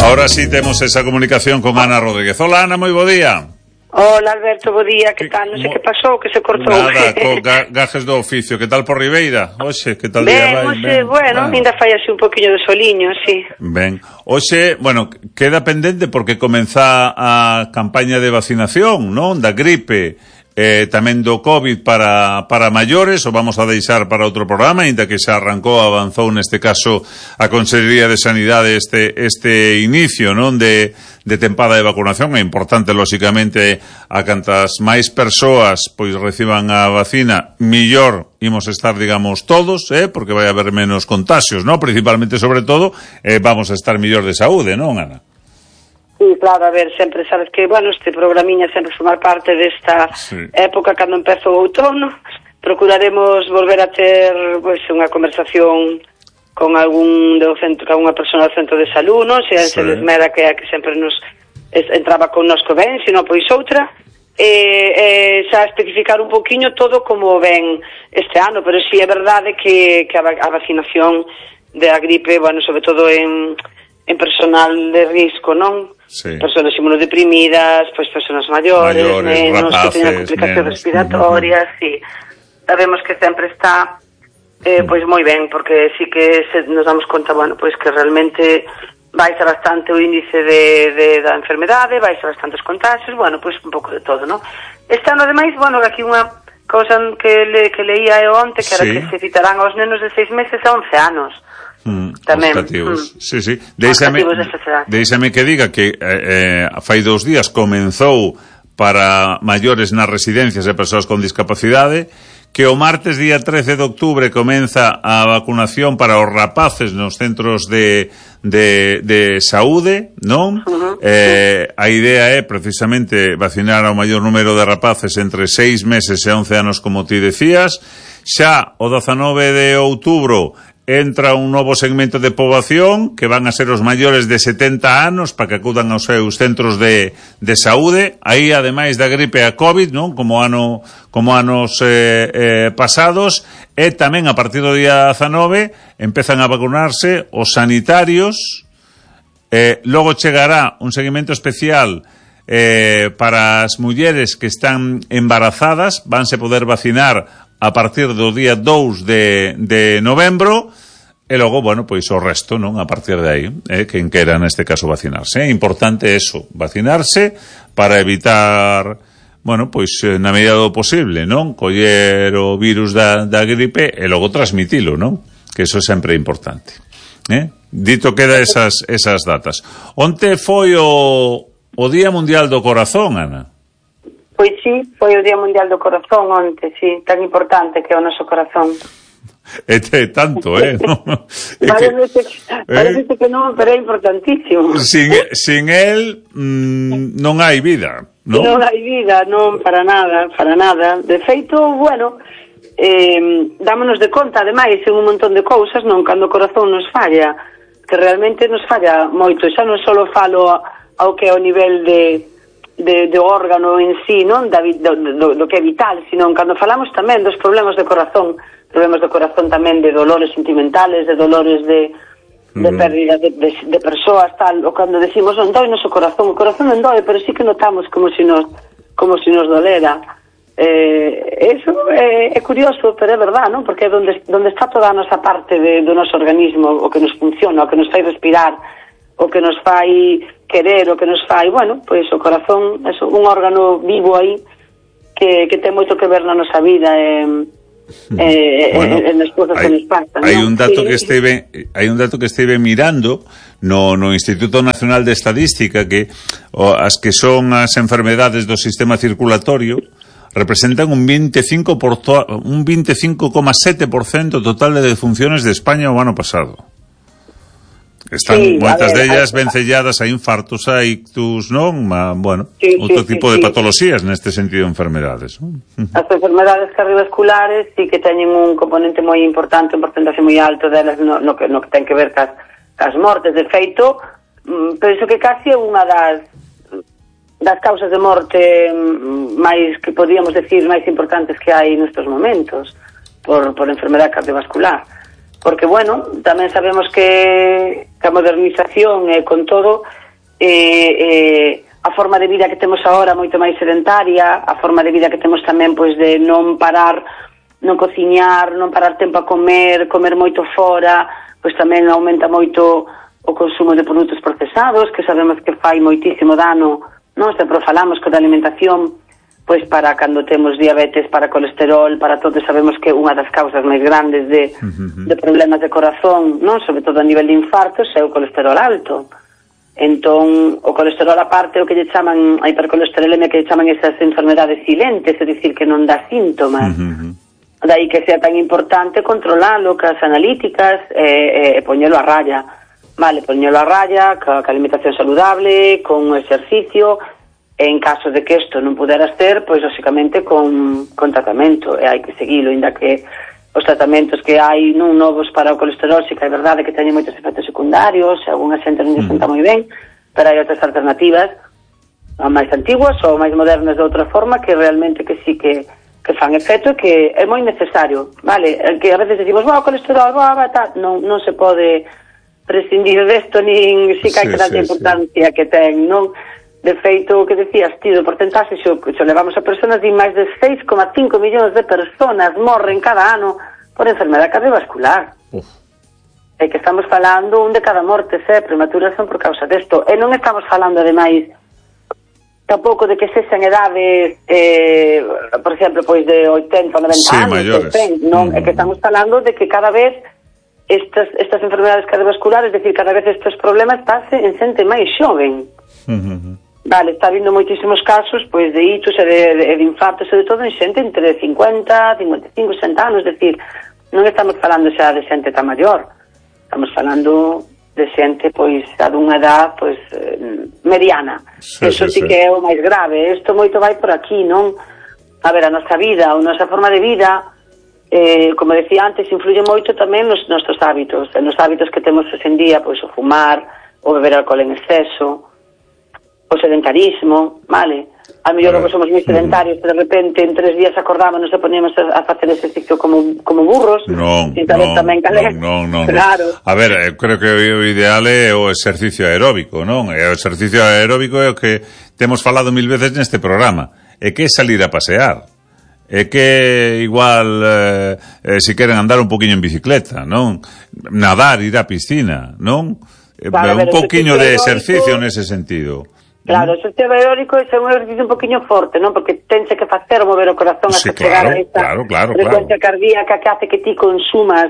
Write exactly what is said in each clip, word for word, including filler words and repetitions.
Ahora sí temos esa comunicación con Ana Rodríguez. Hola, Ana, moi bo día. Hola, Alberto, bo día, que tal? Non sei que pasou, que se cortou. Nada, co ga gajes do oficio. Que tal por Ribeira? Oxe, que tal ben, día vai? Oxe, ben, bueno, ainda fai así un poquinho de soliño, sí. Ben, oxe, bueno, queda pendente porque comeza a campaña de vacinación, non? Da gripe, eh, tamén do COVID para, para maiores, o vamos a deixar para outro programa, ainda que xa arrancou, avanzou neste caso a Consellería de Sanidade este, este inicio, non? De, de tempada de vacunación. É importante, lóxicamente, a cantas máis persoas pois reciban a vacina, millor imos estar, digamos, todos, eh? Porque vai haber menos contagios, non? Principalmente, sobre todo, eh, vamos a estar millor de saúde, non, Ana? Sí, claro, a ver, sempre sabes que, bueno, este programiña sempre formar parte desta sí. época cando empezo o outono. Procuraremos volver a ter, pois, unha conversación con algún do centro, con unha persona do centro de salud, non? Se sí. se desmera que a que sempre nos entraba con nosco ben, sino pois outra. E, e xa especificar un poquinho todo como ven este ano, pero sí é verdade que, que a, a vacinación da gripe, bueno, sobre todo en, en personal de risco, non? Sí. Personas inmunodeprimidas, pois persoas maiores, maiores nenos, rapaces, que teñen complicacións respiratorias, uh-huh. sí. Sabemos que sempre está eh, pois moi ben, porque sí que se nos damos conta, bueno, pois que realmente baixa bastante o índice de, de, da enfermedade, baixa bastantes contagios, bueno, pois un pouco de todo, non? Este ano, ademais, bueno, aquí unha cousa que, le, que leía eu onte, que era sí. que se citarán aos nenos de seis meses a once anos. Mm, tamén, mm, sí, sí. Deixame, deixame que diga que eh, fai dous días comenzou para maiores nas residencias e persoas con discapacidade, que o martes día trece de outubro comeza a vacunación para os rapaces nos centros de, de, de saúde, non? Uh-huh. Eh, a idea é precisamente vacinar ao maior número de rapaces entre seis meses e once anos, como ti decías. Xa o dezanove de outubro entra un novo segmento de poboación que van a ser os maiores de setenta anos para que acudan aos seus centros de, de saúde. Aí, ademais da gripe a COVID, non? Como ano como anos eh, eh, pasados, e tamén a partir do día dezanove empezan a vacunarse os sanitarios. Eh, logo chegará un seguimento especial eh, para as mulleres que están embarazadas, vanse poder vacinar a partir do día dous de, de novembro, e logo, bueno, pois o resto, non? A partir de aí, eh, quen quera neste caso vacinarse. É importante eso, vacinarse para evitar, bueno, pois na medida do posible, non? Coller o virus da, da gripe e logo transmitilo, non? Que eso sempre é importante. Eh? Dito queda esas, esas datas. Onte foi o, o Día Mundial do Corazón, Ana? Pois sí, foi o Día Mundial do Corazón onte, sí, tan importante que é o noso corazón. É tanto, eh? No? Parece que, parece eh? que non, pero é importantísimo. Sin, sin él mmm, non hai vida, non? Non hai vida, non, para nada, para nada. De feito, bueno, eh, dámonos de conta, ademais, en un montón de cousas, non, cando o corazón nos falla, que realmente nos falla moito. Xa non só falo ao que é o nivel de De, de órgano en sí, non? Da, do, do, do que é vital, sino cando falamos tamén dos problemas de corazón, problemas de corazón tamén de dolores sentimentales, de dolores de, de mm. pérdida de, de, de persoas, tal, o cando decimos non doi noso corazón, o corazón non doi, pero sí que notamos como si nos, como si nos dolera. Eh, eso é, é curioso, pero é verdad, non? Porque é donde, donde está toda a nosa parte de, do noso organismo, o que nos funciona, o que nos fai respirar, o que nos fai querer, o que nos fai, bueno, pois o corazón é un órgano vivo aí que, que ten moito que ver na nosa vida e, e, bueno, e nas cousas que nos pasan. Hai ¿no? un dato sí. que estive hai un dato que estive mirando no, no Instituto Nacional de Estadística, que o, as que son as enfermedades do sistema circulatorio representan un veinticinco por to, un veinticinco coma sete por ciento total de defunciones de España o ano pasado. Están sí, moitas dellas vencelladas a infartos, a ictus, non? Ma, bueno, sí, outro sí, tipo sí, de patoloxías sí. Neste sentido de enfermedades, non? As enfermedades cardiovasculares sí que teñen un componente moi importante, un porcentaxe moi alto delas no, no, que, no que ten que ver cas, cas mortes. De feito, penso que casi é unha das das causas de morte máis, que podríamos decir, máis importantes que hai nestes momentos por, por enfermedade cardiovascular. Porque, bueno, tamén sabemos que, que a modernización e eh, con todo, eh, eh, a forma de vida que temos agora moito máis sedentaria, a forma de vida que temos tamén pois de non parar, non cociñar, non parar tempo a comer, comer moito fora, pois tamén aumenta moito o consumo de produtos procesados, que sabemos que fai moitísimo dano, non? Sempre falamos que da alimentación, pois para cando temos diabetes, para colesterol, para todo, sabemos que unha das causas máis grandes de, uh-huh. de problemas de corazón, non? Sobre todo a nivel de infartos, é o colesterol alto. Entón, o colesterol aparte, o que lle chaman a hipercolesterolemia, que lle chaman esas enfermedades silentes, é dicir, que non dá síntomas. Uh-huh. Daí que sea tan importante controlalo, que as analíticas, e, e, e poñelo a raya. Vale, poñelo a raya, ca, ca alimentación saludable, con o exercicio. En caso de que isto non pudera ser, pois, lóxicamente, con, con tratamento, e hai que seguilo, ainda que os tratamentos que hai non novos para o colesterol, sí que é verdade que teñen moitos efectos secundarios, e algunha xente non lle senta moi ben, pero hai outras alternativas, máis antiguas ou máis modernas de outra forma, que realmente que sí que, que fan efecto e que é moi necesario, vale? Que a veces decimos, wow, colesterol, wow, tal, non, non se pode prescindir desto, nin sí que hai sí, que dar sí, importancia sí. que ten, non? De feito, o que decías ti, do porcentaxe, xo, xo levamos a personas, di máis de seis coma cinco millóns de personas morren cada ano por enfermedade cardiovascular. Uf. E que estamos falando, un de cada morte, eh, prematuras son por causa desto. E non estamos falando, ademais, tampouco de que sexan edades, eh, por exemplo, pois de oitenta ou noventa sí, anos, maiores. cen, non? Mm. É que estamos falando de que cada vez estas, estas enfermedades cardiovasculares, es decir, cada vez estes problemas pase en xente máis xoven. Mm-hmm. Vale, está habindo moitísimos casos pois de hitos e de, de, de infartos e de todo en xente entre cincuenta, cincuenta e cinco, sesenta anos, es decir, non estamos falando xa de xente tan maior, estamos falando de xente pois a dunha edad pois mediana. Sí, Eso sí, sí que é o máis grave. Isto moito vai por aquí, non? A ver, a nosa vida, a nosa forma de vida, eh, como decía antes, influye moito tamén nos nosos hábitos, nos hábitos que temos hoxe en día, pois o fumar, o beber alcohol en exceso, o sedentarismo, vale? A mellor logo somos moi sedentarios, de repente en tres días acordámonos e poníamos a, a facer exercicio como, como burros. Non, non, tamén non, non, non. Claro. A ver, eu creo que o ideal é o exercicio aeróbico, non? E o exercicio aeróbico é o que temos falado mil veces neste programa. É que é salir a pasear. É que igual eh, eh, se queren andar un poquinho en bicicleta, non? Nadar, ir á piscina, non? Vale, un poquinho de exercicio nese sentido. Claro, o exercicio aeróbico é un exercicio un poquinho forte, non? Porque tense que facer mover o corazón sí, hasta claro, chegar a esta claro, claro, frecuencia claro. cardíaca que hace que ti consumas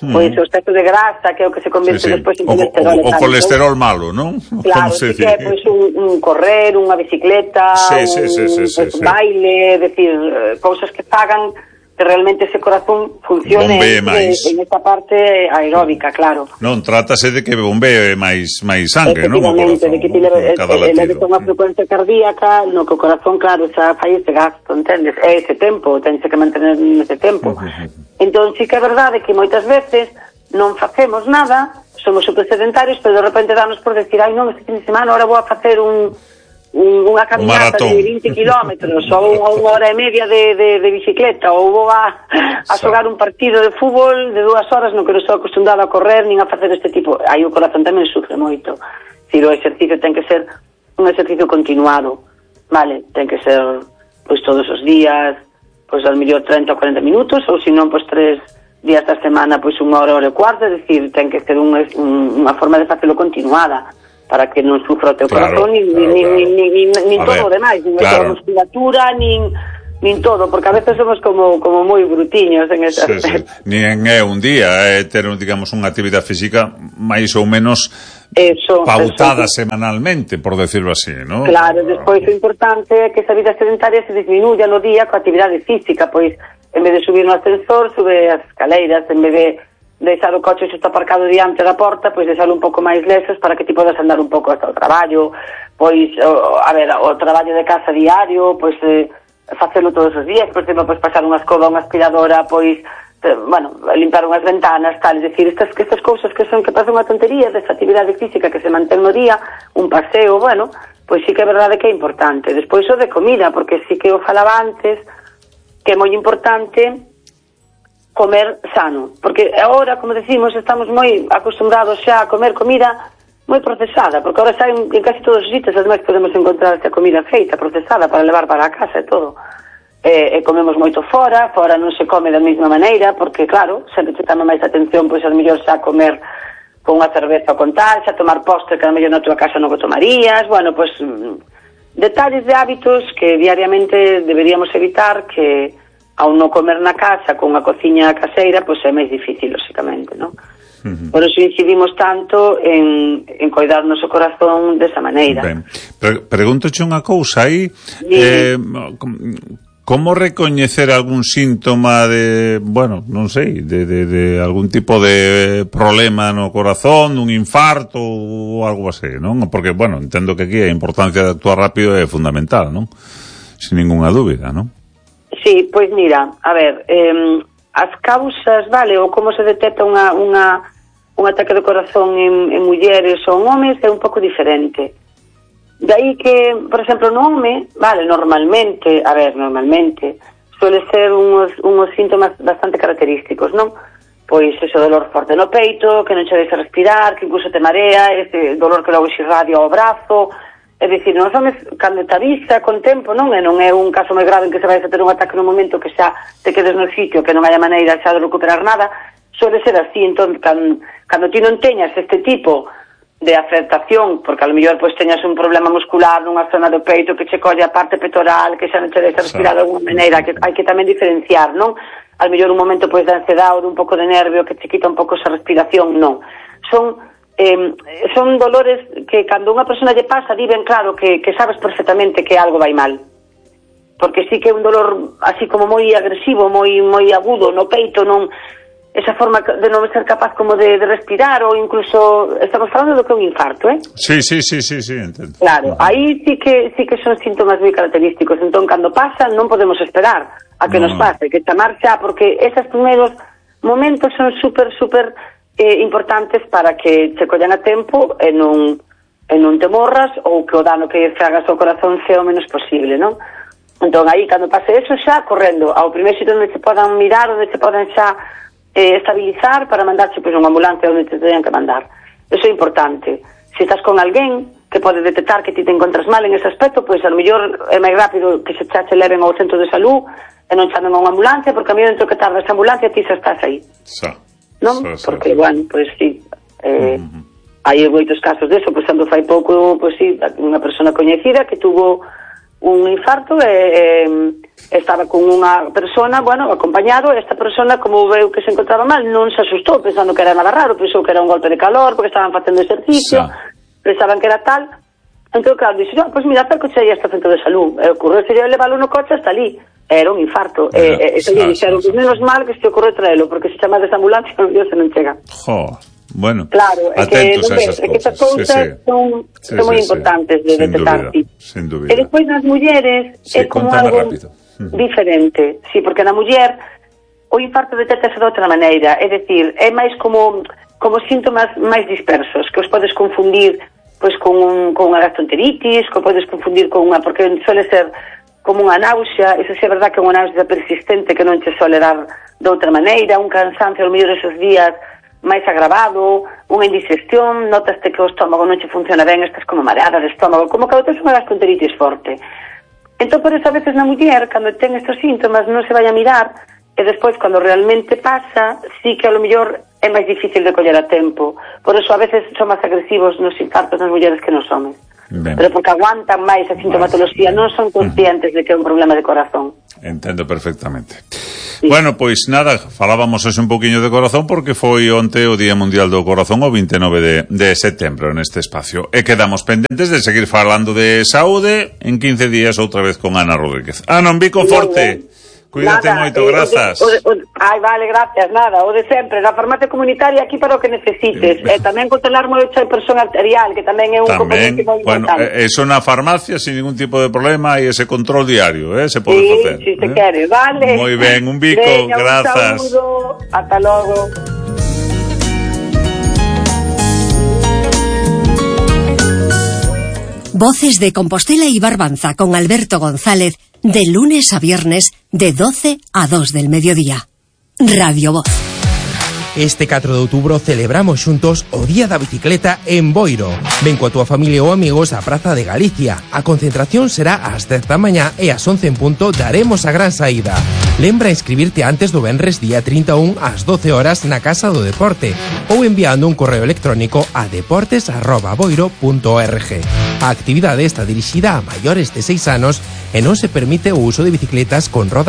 hmm. pois o exceso de grasa, que é o que se convierte sí, sí. despois en colesterol. O, o, o colesterol malo, non? Claro, sí que é pois, un, un correr, unha bicicleta, sí, sí, sí, sí, sí, un sí. baile, decir, cousas que fagan que realmente ese corazón funcione en, en esta parte aeróbica, claro. Non, trátase de que bombee máis máis sangue, non? Efectivamente, de que ti leve unha frecuencia cardíaca, no que o corazón, claro, xa fai ese gasto, entendes? É ese tempo, tense que mantener ese tempo. Uh-huh. Entón, sí que é verdade que moitas veces non facemos nada, somos super sedentarios, pero de repente danos por decir, ai non, este fin de semana ahora vou a facer un... Un, unha caminata de vinte kilómetros ou unha hora e media de, de, de bicicleta ou vou a, a xogar un partido de fútbol de dúas horas no que non estou acostumbrado a correr nin a facer este tipo, aí o corazón tamén sufre moito. Si o exercicio ten que ser un exercicio continuado, vale, ten que ser pois todos os días, pois ao mellor treinta ou cuarenta minutos, ou se non pois tres días da semana pois unha hora, hora e cuarto, é dicir, ten que ser un, un, unha forma de facelo continuada para que non sufra o teu claro, corazón nin, claro, nin, claro. nin, nin, nin, nin todo o demais, nin claro. a musculatura, nin, nin todo, porque a veces somos como, como moi brutiños en ese sí, aspecto. Sí. Nin é un día, é ter, digamos, unha actividade física máis ou menos eso, pautada eso. semanalmente, por decirlo así, ¿no? Claro, despois o importante é que esa vida sedentaria se disminuya no día coa actividade física, pois en vez de subir no ascensor, sube as escaleiras, en vez de deixar o coche se está aparcado diante da porta, pois deixalo un pouco máis lexos para que ti podas andar un pouco hasta o traballo, pois, o, a ver, o traballo de casa diario, pois, eh, facelo todos os días, por exemplo, pois pasar unha escoba, unha aspiradora, pois, eh, bueno, limpar unhas ventanas, tal, é dicir, estas, estas cousas que son que pasan unha tontería desta actividade física que se mantén no día, un paseo, bueno, pois sí que é verdade que é importante. Despois o de comida, porque sí que o falaba antes, que é moi importante comer sano, porque agora, como decimos, estamos moi acostumbrados xa a comer comida moi procesada, porque agora xa en, en casi todos os sitios ademais podemos encontrar esta comida feita, procesada, para levar para a casa e todo. E, e comemos moito fora, fora non se come da mesma maneira, porque claro, sempre te chama máis atención, pois a mellor xa comer con unha cerveza con tal, xa tomar postre que a mellor na tua casa non o tomarías, bueno, pois detalles de hábitos que diariamente deberíamos evitar, que ao non comer na casa con a cociña caseira, pois é máis difícil, lóxicamente, non? Uh-huh. Por eso incidimos tanto en, en coidar o noso corazón desa maneira. Ben, Pre pregúntoche unha cousa aí, eh, como recoñecer algún síntoma de, bueno, non sei, de, de, de algún tipo de problema no corazón, un infarto ou algo así, non? Porque, bueno, entendo que aquí a importancia de actuar rápido é fundamental, non? Sin ninguna dúbida, non? Sí, pois mira, a ver, eh, as causas, vale, ou como se detecta unha, unha, un ataque do corazón en, en mulleres ou en homes é un pouco diferente. De aí que, por exemplo, no home, vale, normalmente, a ver, normalmente, suele ser unos, unos síntomas bastante característicos, non? Pois ese dolor forte no peito, que non che deixa respirar, que incluso te marea, ese dolor que logo se irradia ao brazo. É dicir, nos homes, cando te avisa con tempo, non? E non é un caso moi grave en que se vai a ter un ataque no momento que xa te quedes no sitio, que non haya maneira xa de recuperar nada, suele ser así. Entón, cando, cando ti non teñas este tipo de afectación, porque a lo mellor pois teñas un problema muscular nunha zona do peito que che colle a parte pectoral, que xa non che deixa respirar de alguma maneira, que hai que tamén diferenciar, non? A lo mellor un momento pois de ansiedade ou de un pouco de nervio que che quita un pouco esa respiración, non. Son Eh, son dolores que cando unha persona lle pasa di ben claro que, que sabes perfectamente que algo vai mal, porque sí que é un dolor así como moi agresivo, moi moi agudo no peito, non esa forma de non ser capaz como de, de respirar, ou incluso estamos falando do que é un infarto, eh? Sí, sí, sí, sí, sí, entendo. Claro, aí sí que sí que son síntomas moi característicos, entón cando pasa non podemos esperar a que no. nos pase, que chamar xa, porque esos primeiros momentos son super, super Eh, importantes para que se collan a tempo e non, e non te morras, ou que o dano que fagas ao corazón sea o menos posible, non? Entón, aí, cando pase eso, xa, correndo ao primeiro sitio onde se podan mirar, onde se podan xa eh, estabilizar para mandarse pois, unha ambulancia onde te teñan que mandar. Eso é importante. Se estás con alguén que pode detectar que ti te encontras mal en ese aspecto, pois a lo mellor é máis rápido que se xa te leven ao centro de salud e non chamen a unha ambulancia, porque a mí dentro que tarda esa ambulancia ti xa estás aí. Xa. Non? So, so, porque, so. bueno, pois pues, sí, eh, uh-huh. hai moitos casos deso, pois cando fai pouco, pois pues, sí, unha persona coñecida que tuvo un infarto e eh, estaba con unha persona, bueno, acompañado, e esta persona, como veu que se encontraba mal, non se asustou pensando que era nada raro, pensou que era un golpe de calor, porque estaban facendo exercicio, so. pensaban que era tal, entón, claro, dixo, no, pois pues, mira, cerco xe aí hasta o centro de salud, e ocorreu sería leválo no coche hasta ali. Era un infarto. Era, e, e, e ah, dixeron, sí, sí. menos mal que se ocorre traelo, porque se chama desa ambulancia, Dios se non chega. Jo, bueno, claro, é que, atentos a esas é que esas cousas sí, sí. son, sí, son sí, moi sí, importantes sí. de detectar. Sin dúbida, sin dúbida. E despois nas mulleres sí, é como algo rápido. diferente. Sí, porque na muller o infarto detectase de outra maneira, é dicir, é máis como como síntomas máis dispersos, que os podes confundir pois con un, con unha gastroenteritis, que podes confundir con unha, porque suele ser como unha náusea, eso sí é verdad que é unha náusea persistente que non che sole dar de outra maneira, un cansancio ao mellor esos días máis agravado, unha indigestión, notaste que o estómago non che funciona ben, estás como mareada de estómago, como que tes unha gastroenteritis forte. Entón, por eso, a veces na muller, cando ten estes síntomas, non se vai a mirar, e despois, cando realmente pasa, sí que a lo mellor é máis difícil de coller a tempo. Por eso, a veces, son máis agresivos nos infartos nas mulleres que nos homes. Ben. Pero porque aguantan máis a sintomatología, non son conscientes de que é un problema de corazón. Entendo perfectamente. Sí. Bueno, pois nada, falábamos hoxe un poquinho de corazón porque foi onte o Día Mundial do Corazón, o vinte e nove de, de setembro neste espacio. E quedamos pendentes de seguir falando de saúde en quince días outra vez con Ana Rodríguez. Ana, un bico forte. Cuídate nada, moito, eh, grazas. O de, o de, ai, vale, gracias, nada, o de sempre, na farmacia comunitaria aquí para o que necesites. E eh, tamén controlar moito a presión arterial, que tamén é un componente moi importante. Bueno, eso na farmacia, sin ningún tipo de problema, e ese control diario, eh, se pode sí, facer. Sí, si se eh? quere, vale. Moi ben, un bico, Veña, grazas. Un saludo, ata logo. Voces de Compostela y Barbanza con Alberto González, de lunes a viernes, de doce a dos del mediodía. Radio Voz. Este catro de outubro celebramos xuntos o Día da Bicicleta en Boiro. Ven coa túa familia ou amigos á Praza de Galicia. A concentración será ás dez da mañá e ás once en punto daremos a gran saída. Lembra inscribirte antes do venres día trinta e un ás doce horas na Casa do Deporte ou enviando un correo electrónico a deportes arroba boiro punto org. A actividade está dirixida a maiores de seis anos e non se permite o uso de bicicletas con rodas